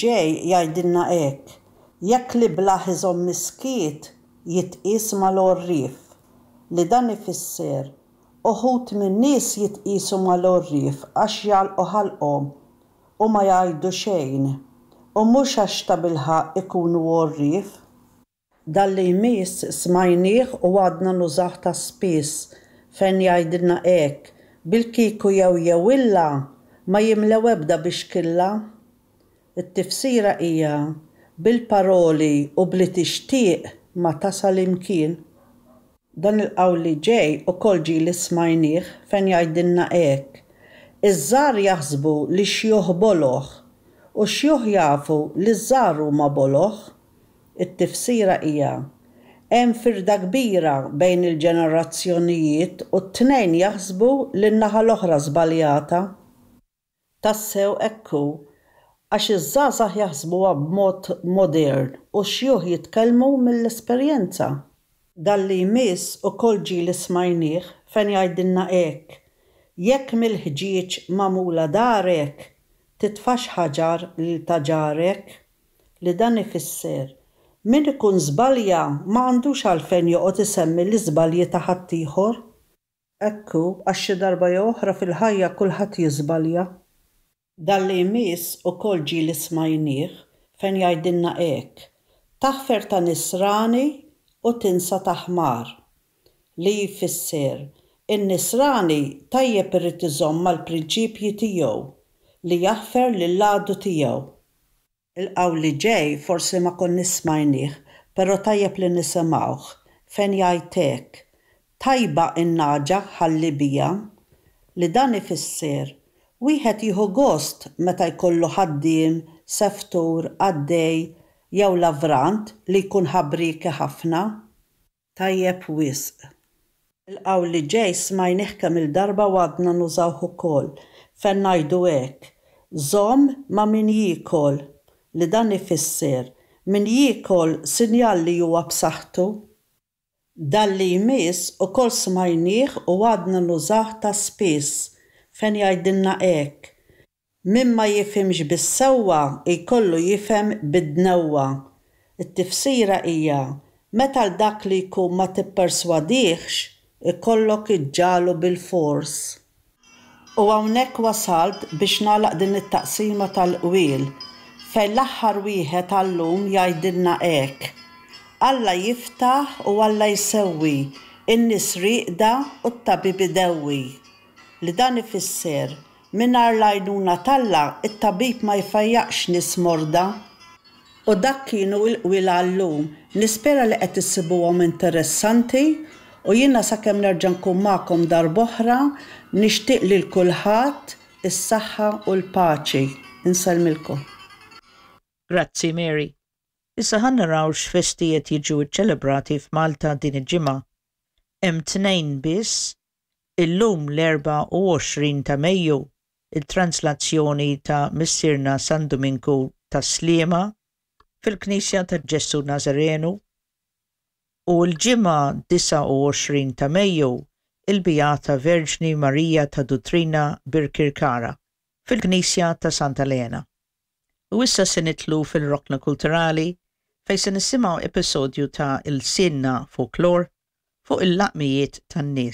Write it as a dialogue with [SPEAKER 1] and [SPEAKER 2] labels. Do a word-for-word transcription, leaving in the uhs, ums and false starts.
[SPEAKER 1] ġej jgħidilna hekk: Jekk l-iblah iżomm is-skiet, jitqies mal-għorrief. Li dan ifisser, uħud min-nies jitqiesu mal-għorrief għax jagħlqu ħalqhom u ma jgħidu xejn, u mhux għax tabilħaqq ikunu għorrief. Dan li jmiss smajnieh u għadna nużawh ta' spiss, fejn jgħidilna hekk: Bil-kieku jew jew illa ma jimlew ebda bixkilla. It-tifsira hija, bil-paroli u bli tixtieq ma tasal imkien. Dan il-qawl li ġej ukoll ġieli smajnieh, fejn jgħidilna hekk: Iż-żgħar jaħsbu li x-xjuħ boloh u x-xjuħ jafu li ż-żgħar huma boloh. It-tifsira hija, hemm firda kbira bejn il-ġenerazzjonijiet u t-tnejn jaħsbu li n-naħa l-oħra żbaljata. Tassew hekk hu, għax iż-żgħażagħ jaħsbuha b'mod modern u x-xjuħ jitkellmu mill-esperjenza. Dan li jmiss ukoll ġieli smajnieh, fejn jgħidilna hekk: Jekk mill-ħġieġ magħmula darek, titfax ħaġar lil ta' ġarek. Li dan ifisser, min ikun żbalja ma għandux għalfejn joqgħod isemmi l-iżbalji ta' ħaddieħor. Hekk hu, għax xi darba jew oħra fil-ħajja kulħadd jiżbalja. Dan li jmiss ukoll ġieli smajnieh, fejn jgħidilna hekk: Taħfer ta' nisrani u tinsa ta' ħmar. Li jfisser, in-nisrani tajjeb irid iżomm mal-prinċipji tiegħu li jaħfer lill-għadu tiegħu. Il-qawl li ġej forsi ma konniex smajnieh, però tajjeb li nisimgħuh, fejn jgħid hekk: Tajba in-nagħġa ħalli bija. Li dan ifisser, wieħed jieħu gost meta jkollu ħaddiem, seftur, qaddej jew lavrant li jkun ħabrieki ħafna. Tajjeb wisq. Il-qawl li ġej smajnieh kemm il-darba u għadna nużawh ukoll, fejn ngħidu hekk: Żomm ma' min jiekol. Li dan ifisser, min jiekol sinjal li huwa b'saħħtu. Dan li jmiss ukoll smajnieh u għadna nużawh ta' spiss, fejn jgħidilna hekk: Min ma jifhimx bis-sewwa jkollu jifhem bid-dnewwa. It-tifsira hija, meta l dak li jkun ma tipperswadihx, ikollok iġġagħlu bil-fors. U hawnhekk wasalt biex nagħlaq din it-taqsima tal-qwiel, fejn l-aħħar wieħed għallum jgħidilna hekk: Alla jiftaħ u Alla jsewwi, in-nies rieqda u t-tabib idewwi. Li dan ifisser, mingħajr l-għajnuna t'Alla it-tabib ma jfejjaqx nies morda. U dak kienu l-qwiel għallum. Nispera li qed issibuhom interessanti u jiena sakemm nerġa' nkun magħkom darb'oħra nixtieq lil kulħadd is-saħħa u l-paċi. Insellmilkom.
[SPEAKER 2] Grazzi, Mary. Issa ħa naraw x'festi qed jiġu ċċelebrati f'Malta din il-ġimgħa. Hemm tnejn biss, illum l-erbgħa u għoxrin ta' Mejju, il-translazzjoni ta' Missierna San Duminku ta' Sliema fil-Knisja ta' Ġesù Nazarenu, u l-ġimgħa disgħa u għoxrin ta' Mejju, il-Beata Verġni Marija ta' Duttrina Birkirkara fil-Knisja ta' Santa Lena. U issa se nidħlu fil-Rokna Kulturali, fejn se nisimgħu episodju ta' Ilsienna Folklor fuq il-laqmijiet tan-nies.